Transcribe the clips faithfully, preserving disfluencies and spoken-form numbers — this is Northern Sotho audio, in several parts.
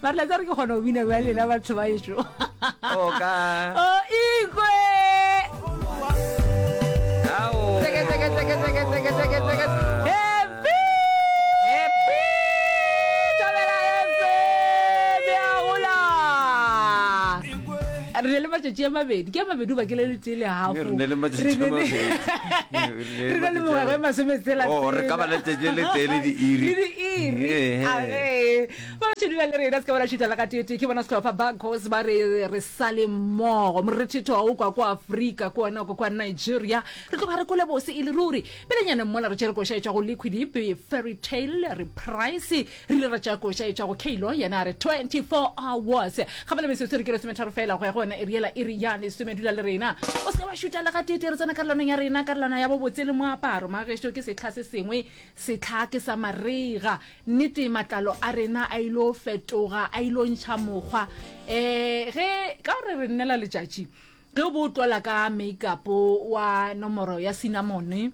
Mare la tsare ke kgona go bina bja lena batho ba ešo. O ka. O ikwe. Ao. Tseke tseke tseke tseke tseke tseke tseke. Happy. Happy. Thobela F M ya gola. Re ne le matšatši a mabedi, ke a mabedi goba ke le letee le half. Re ne le matšatši a mabedi. Re ne le mengwaga e masometshela. Oh, re ka ba letšatši le letee le diiri. Le diiri. Age. Ba ba dula le rena se ka ba la šutha la gateetee. Ke bona sehlopha Bacchus ba re re sale mmogo. Morethetho wa o kwa kwa Afrika, ke wona o kwa kwa Nigeria. Re tloga re kwele bose e le ruri. Pelenyana mola re tšere koša e tšwa go Liquid Ipe, Fairy Tale, Reprise. Re ile ra tšea koša e tšwa go Kaylo, yena a re twenty-four hours. Gabele metsotso re ke lesometharo fela go ya go yona iri yela, iri ya lesome. Dula le rena, o se ke wa šutha le gateetee. Re tsena karolwaneng ya rena, karolwana ya bobotse le moaparo. Magešo ke sehla se sengwe, sehla ke sa marega. Nnete matlalo a rena a ilo fetoga, a ilo ntšha mokgwa. Um ge ka gore re nnela letšatši, ge o bo o tlola ka makeup wa nomoro ya cinnamon,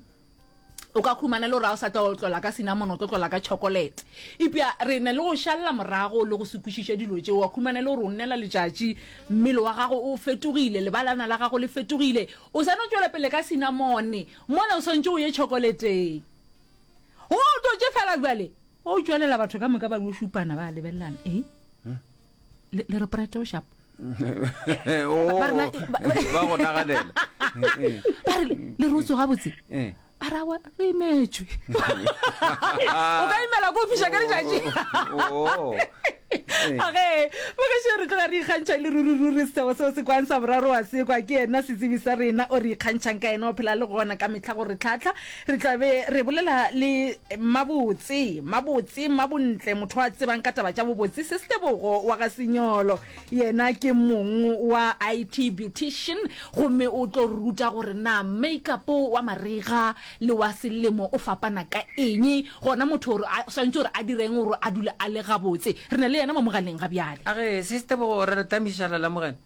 o ka khumana le gore ga o sa tlo tlola ka cinnamon, o tlo tlola ka chocolate. Eupša re ne le go šalela morago le go se kwešiše dilo tšeo, wa khumana le gore o nnela letšatši, mmele wa gago o fetogile, lebalana la gago le fetogile, o sa no tšwela pele ka cinnamon, mola o swantše o ye chocolateng. Go o tlotše fela bjale, o tšwelela batho ka moka ba yo šupana ba lebelelana. Eh? Le, le re prete o sharp. Oh, Ba re na- ba- ba go naganela. Ba re le re o tsoga botse. Eh. Ba ra wa re imetšwe. O ka imela ko fiša ka letšatši. Oh. Age, bagešo re tloga re ikgantšha le ruri ruri seo seo se kwang sa boraro wa se kwa ke yena setsebi sa rena o re ikgantšhang ka yena o phela le gona ka mehla go re tlhahla. Re tla be re bolela le Mabotse, Mabotse, Mabontle, motho a tsebang ka taba tša bobotse, Sestebogo wa ga Senyolo. Yena ke mong wa I T Beautician gomme o tlo re ruta gore na makeup wa marega le wa selemo o fapana ka eng, gona motho gore a swanetše gore a direng gore a dule a le gabotse. Re na le yena mo mogaleng ga bjale. Age, Sestebogo, re re tamišala la morena.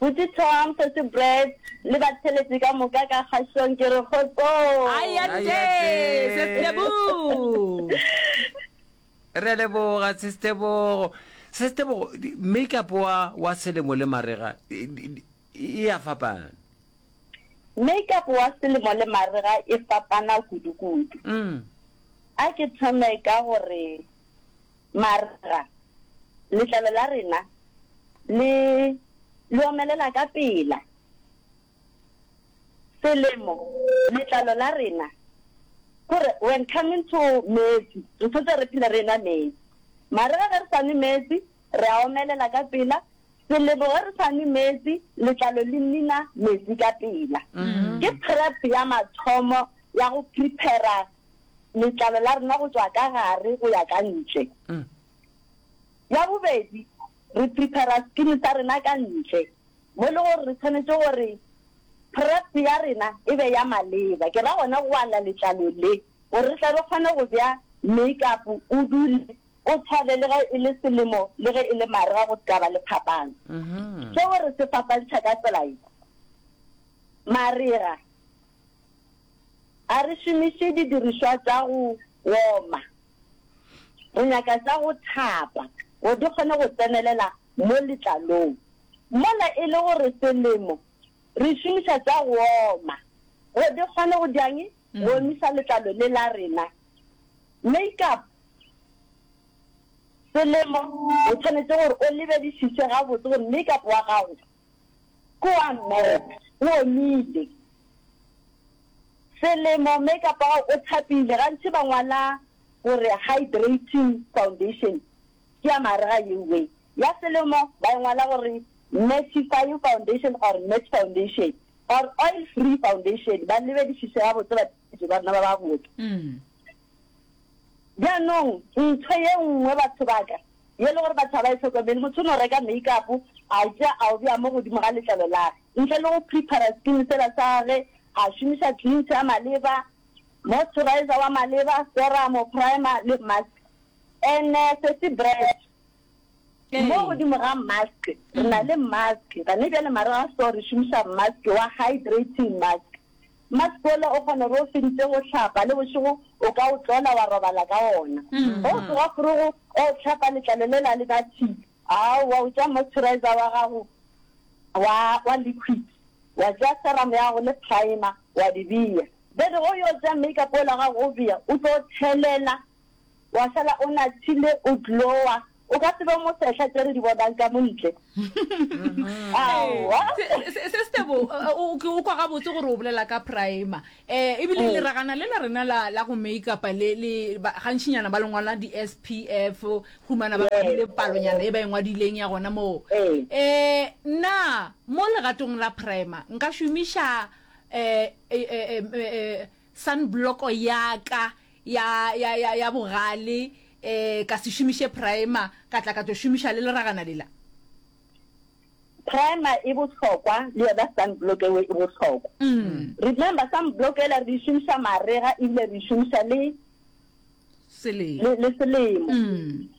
Buti Tom, Sesi Brad le batheletši ka moka ka kgašong ke re kgotsong. Ayate, Sestebogo. Re a leboga Sestebogo. Sestebogo, makeup wa wa selemo le marega e a fapana. Makeup wa selemo le marega e fapana kudu-kudu. Mm. A ke thome ka gore marega letlalo la rena le le omelela ka pela. Selemo letlalo la rena gore when coming to metsi re tshwanetse re phele re nwa metsi. Marega ge re sa nwe metsi re a omelela ka pela. Selemo ge re sa nwe metsi letlalo le nina metsi ka pela. Ke prep ya mathomo ya go prepare letlalo la rena go tšwa ka gare go ya ka ntle. Ya bobedi re prepare skin sa rena ka ntle mo le gore re tshwanetse gore prep ya rena e be ya maleba. Ke ra gona go ala letlalo le gore re tle re kgone go bea makeup o dule o tshwane le ge e le selemo le ge e le marega go se ka ba le phapano. Seo re se fapantšha ka tsela ye. Marega a re šomiše didirišwa tša go oma, re nyaka tša go thapa gore di kgone go tsenelela mo letlalong. Mola e le gore selemo re šomiša tša go oma gore di kgone go diang go omisa letlalo le la rena. Makeup selemo o tshwanetse gore o lebedišiše gabotse gore makeup wa gago ke wa matte, o omile. Selemo makeup wa gago o thapile, gantši ba ngwala gore hydrating foundation ke ya marega yewe. Ya selemo ba e ngwala gore mattifying foundation or matte foundation or oil free foundation. Ba lebedišiše gabotse batho ba rena ba ba botse. Bjanong ntho ye nngwe batho ba ka ye le gore batho ga ba e hlokomele, motho o no reka makeup a tšea a o bea mo godimo ga letlalo la ge ntle le go prepare skin sela sa ge, a šomiša cleanser ya maleba, moisturizer wa maleba, serum, primer le mask. Ene sesi bread mo godimo ga mask re na le mask gane bjale marega so re šomiša mask wa hydrating mask. Mask ola o kgona gore o feditse go hlapa le bošego o ka o tlola wa robala ka ona. Ge o tsoga forogo o hlapa letlalo lela le ba tshila. Aowa, o tšea moisturizer wa gago wa wa liquid, wa tšea serum ya gago le primer wa di bea. Then ge o yo tšea makeup ola wa gago o bea, o tlo thelela wa šala o nathile o glowa. O ka se be mosehla tše re di bonang ka mo ntle. Aowa. Sestebo, ke o kwa gabotse gore o bolela ka primer. Eh, ebile mm. leragana le la rena la, la go make-upa le, le gantšinyana ba le ngwala di-S P F, humana ba ngwadile palonyana e ba e ngwadileng ya gona moo. Eh, na mo legatong la primer nka šomiša eh, eh, eh, eh, sunblock ya ka ya, ya, ya, ya bogale, eh, ka se šomiše primer, ka tla ka tlo šomiša le leragana lela? Primer e bohlokwa, le yona sunblock ewe e bohlokwa. Mm. Remember, sunblock ela re e šomiša marega ebile re e šomiša le selemo. Le, le selemo. Mm.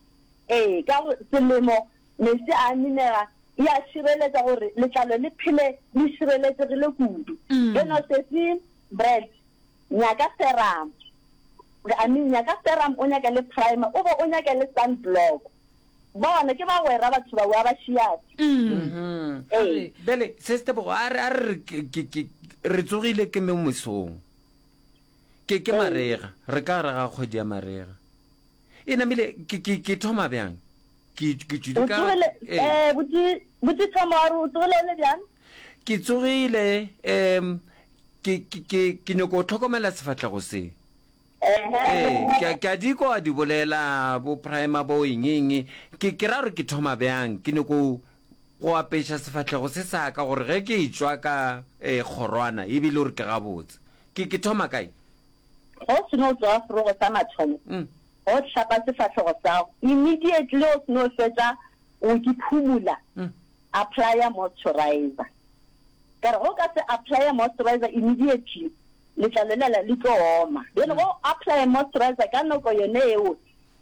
Ee, ka gore selemo metsi a minega, e a šireletša gore letlalo le phele le šireletšegile kudu. Mm. Bjeno sesi bread, nyaka serum. I mean, nyaka serum, o nyaka le primer, o bo o nyaka le sunblock. Bona ke bagwera batho ba ba šiate. Mm. Ee. Bjale Sestebogo, a re a re ke ke re tsogile ke mo mesong. Ke ke marega, re ka re ga kgwedi ya marega. E namile ke ke ke thoma bjang? Ke ke tšwile ka eh botse botse thoma wa re o tsogile le bjang? Ke tsogile em ke ke ke nyoko tlhokomela sefahlego se. Ee, ke ke a di kwa di bolela bo primer bo eng eng. Ke ke ra gore ke thoma bjang, ke nyoko go apeša sefahlego se sa ka gore ge ke tšwa ka eh kgorwana ebile gore ke gabotse. Ke ke thoma kae? Go seno tswa forogo sa mathomo, go hlapa sefahlego sa gago immediately o seno fetša o ke phumula, apply moisturizer. Ka re go ka se apply moisturizer immediately, letlalo lela le tlo oma. Bjale go apply moisturizer ka nako yone eo,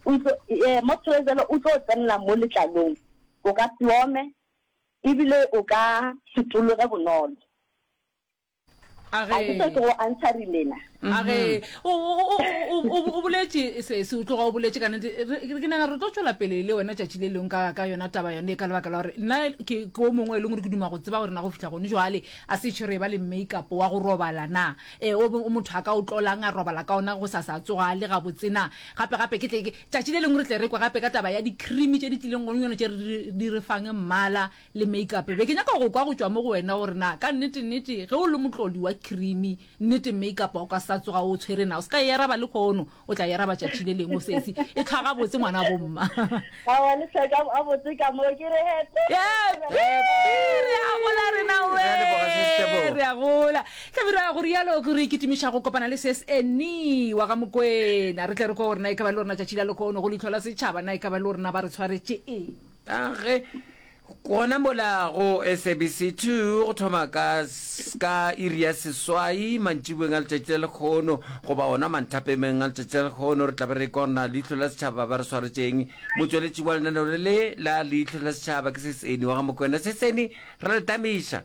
o tlo eh moisturizer o tlo tsenela mo letlalong, o ka se ome ebile o ka se tologe bonolo. A A ke se ke go answerile na? A ge o o boletše se se o tloga o boletše ka nnete, ke nagana re tlo tšwela pele le wena tšatši le lengwe ka ka yona taba yone, ka lebaka la gore nna ke ke o mongwe e leng gore ke duma go tseba gore na go fihla gone jwale a se tšhe re ba le makeup wa go robala na, eh o motho a ka o tlolang a robala ka ona go sa sa tsoga le gabotse na. Gape gape ke tle tšatši le lengwe re tle re kwe gape ka taba ya di-cream tše di tlileng gone yone tše re di re fang mmala le makeup. Be ke nyaka go kwa go tšwa mo go wena gore na ka nnete nnete ge o le motlodi wa cream nnete makeup o ka sa tsoga o tshwere na, o se ka e araba le kgono, o tla e araba tšatši le lengwe sesi e tlhwa gabotse ngwana bomma. Aowa le hlweka gabotse ka mo ke re happy. Happy re a gola rena we, re a gola. Hlabirwa go rialo ke re ikitimiša go kopana le ses Annie wa ga Mokwena, re tle re kwe gore na e ka ba le rena tšatši la lekhono go leihlo la setšhaba, na e ka ba le rena ba re tshwaretše eng. A ge gona mola go S A B C two go thoma ka ka iri ya seswai mantšiboeng a letšatši la lekhono goba ona manthapemeng a letšatši la lekhono, re tla be re kona leihlo la setšhaba ba re swaretšeng. Motsweletši wa lenaneo le le la leihlo la setšhaba ke Seseni wa ga Mokwena. Seseni, re le tamiša.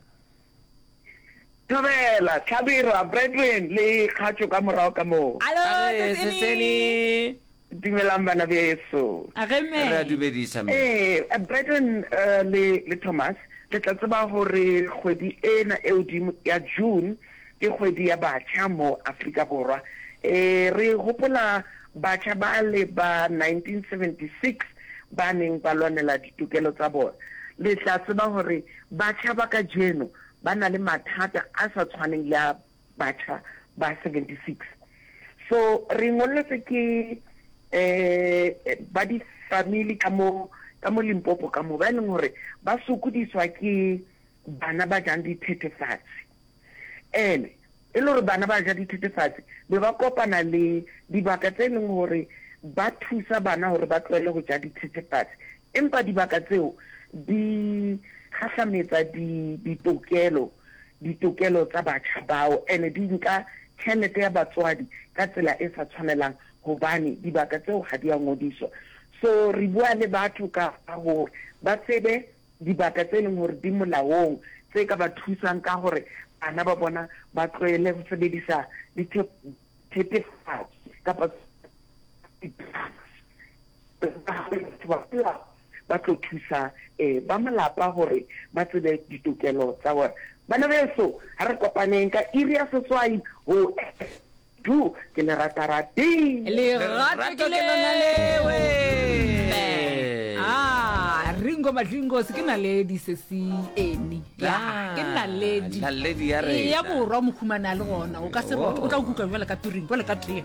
Thobela, Hlabirwa, Brethren le kgatšo ka morago ka moo. Alo, Age, Seseni. Seseni. Dumelang bana beso. Age mme. Re a dumedisa mme. Ee, Brethren le le Thomas, le tla tseba gore kgwedi ena e hodimo ya June ke kgwedi ya batjha mo Afrika Borwa. Ee, re hopola batjha bale ba nineteen seventy-six ba neng ba lwanela ditokelo tsa bona. Le tla tseba gore batjha ba kajeno ba na le mathata a sa tshwaneng le a batjha ba seventy-six. So re ngolletswe ke eh ba di family ka mo ka mo Limpopo ka mo ba e leng hore ba sokodiswa ke bana ba jang dithethefatsi. Ene e le hore bana ba ja dithethefatsi be ba kopana le dibaka tse leng hore ba thusa bana hore ba tlohele ho ja dithethefatsi, empa dibaka tseo di kgahlametsa di ditokelo ditokelo tsa batjha bao, ene di nka tjhelete ya batswadi ka tsela e sa tshwanelang hobane dibaka tseo ha di a ngodiswa. So re bua le batho ka hore ba tsebe dibaka tse leng hore di molaong tse ka ba thusang ka hore bana ba bona ba tlohele go sebedisa dithethefatsi kapa di-drugs. Batho ba molao ba tlo thusa ba malapa gore ba tsebe ditokelo tsa bona. Bana beso, ha re kopaneng ka iri ya seswai go Du, ke le rata rati. Lerato ke lona lewe. Ah, Ringo Madlingos ke naledi sesi eni. Ya, ke naledi. Naledi ya rena. Ya borwa mohumane a le gona. O ka se rote, o tla o kuka bjale ka piring, bjale ka tee.